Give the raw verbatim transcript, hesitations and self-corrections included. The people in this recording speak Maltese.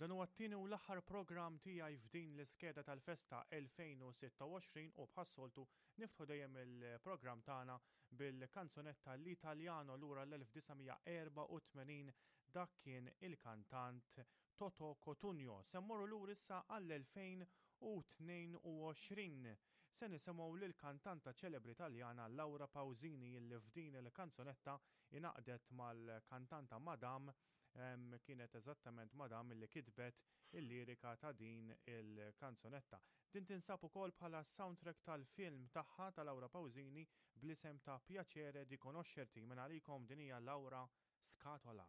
Dan huwa t-tieni u l-aħħar programm tiegħi f'din l-iskeda tal-festa elfejn u sitta u għoxrin u bħas-soltu niftħu dejjem il-programm tagħna bil-kanzunetta L'Italiano lura l-elf disa' mija erbgħa u tmenin. Dak kien il-kantant Toto Cutugno. Se mmorru lura issa għall-elfejn u tnejn u għoxrin. Se nisimgħu lill-kantanta ċelebri Taljana Laura Pausini, illi f'din il-kanzunetta ingħaqdet mal-kantanta Madame. Kienet eżattament Madame li kitbet il-lirika ta' din il-kanzunetta. Din tinsab ukoll bħala soundtrack tal-film tagħha, ta' Laura Pausini, bl-isem ta' Piacere di conoscerti. Minn għalikom din hija Laura, Scatola.